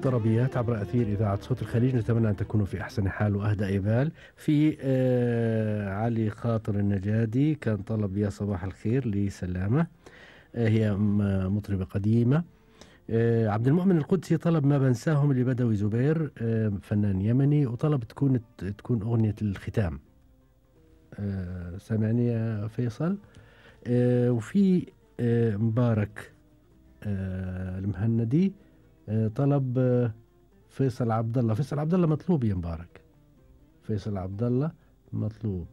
طربيات عبر أثير إذاعة صوت الخليج. نتمنى أن تكونوا في أحسن حال وأهدى بال. في علي خاطر النجادي كان طلب يا صباح الخير لسلامة، هي مطربة قديمة. عبد المؤمن القدسي طلب ما بنساهم اللي بدوي زبير، فنان يمني، وطلب تكون أغنية الختام. سامعني يا فيصل؟ وفي مبارك المهندي طلب فيصل عبد الله. فيصل عبد الله مطلوب يا مبارك، فيصل عبد الله مطلوب.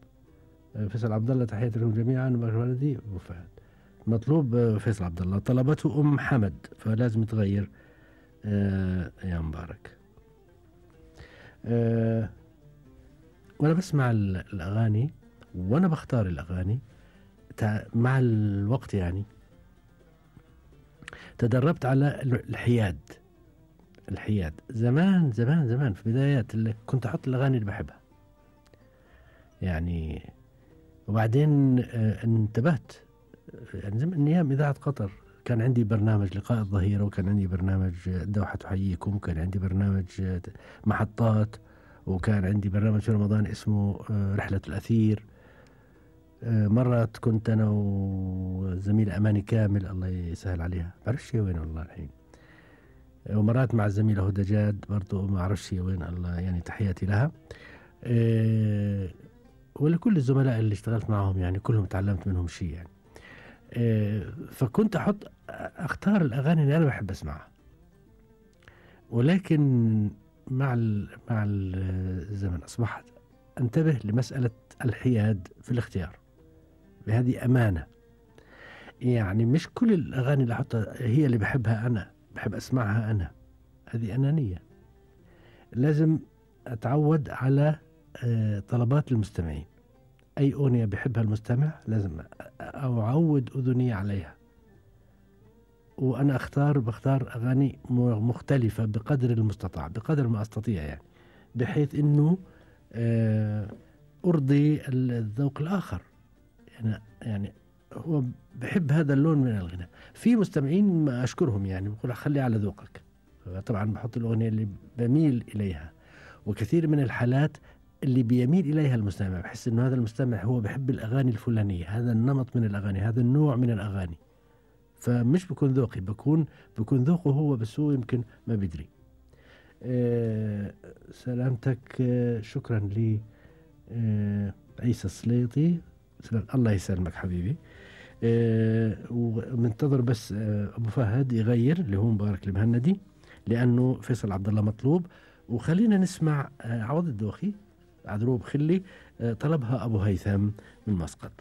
فيصل عبد الله تحياتي لهم جميعا. مبارك الولدي أبو فهد مطلوب. فيصل عبد الله طلبته أم حمد، فلازم تغير يا مبارك. وأنا بسمع الأغاني وأنا بختار الأغاني مع الوقت، يعني تدربت على الحياد زمان زمان زمان في بدايات اللي كنت أحط الأغاني اللي بحبها يعني. وبعدين انتبهت يعني زمان أيام إذاعة قطر كان عندي برنامج لقاء الظهيرة، وكان عندي برنامج الدوحة تحييكم، وكان عندي برنامج محطات، وكان عندي برنامج في رمضان اسمه رحلة الأثير. مرات كنت أنا وزميلة أماني كامل الله يسهل عليها، بعرفش هي وين والله الحين. ومرات مع الزميلة هدى جاد برضو ما أعرفش هي وين، الله يعني تحياتي لها. ولكل الزملاء اللي اشتغلت معهم يعني كلهم تعلمت منهم شيء يعني. فكنت أختار الأغاني اللي أنا بحب أسمعها، ولكن مع الزمن أصبحت أنتبه لمسألة الحياد في الاختيار. بهذه أمانة، يعني مش كل الأغاني اللي أحطها هي اللي بحبها أنا، بحب أسمعها أنا، هذه أنانية. لازم أتعود على طلبات المستمعين. أي أغنية بحبها المستمع لازم أعود أذني عليها، وأنا بختار أغاني مختلفة بقدر المستطاع، بقدر ما أستطيع يعني، بحيث أنه أرضي الذوق الآخر. يعني هو بحب هذا اللون من الغناء. في مستمعين ما أشكرهم يعني بقول خلي على ذوقك، طبعا بحط الأغنية اللي بميل إليها. وكثير من الحالات اللي بيميل إليها المستمع، بحس إنه هذا المستمع هو بحب الأغاني الفلانية، هذا النمط من الأغاني، هذا النوع من الأغاني، فمش بكون ذوقي، بكون ذوقه هو، بس هو يمكن ما بيدري. سلامتك. شكرا لي عيسى السليطي. الله يسلمك حبيبي. ومنتظر بس أبو فهد يغير اللي هو مبارك المهندي، لأنه فيصل عبد الله مطلوب. وخلينا نسمع عوض الدوخي عذروب خلي، طلبها أبو هيثم من مسقط.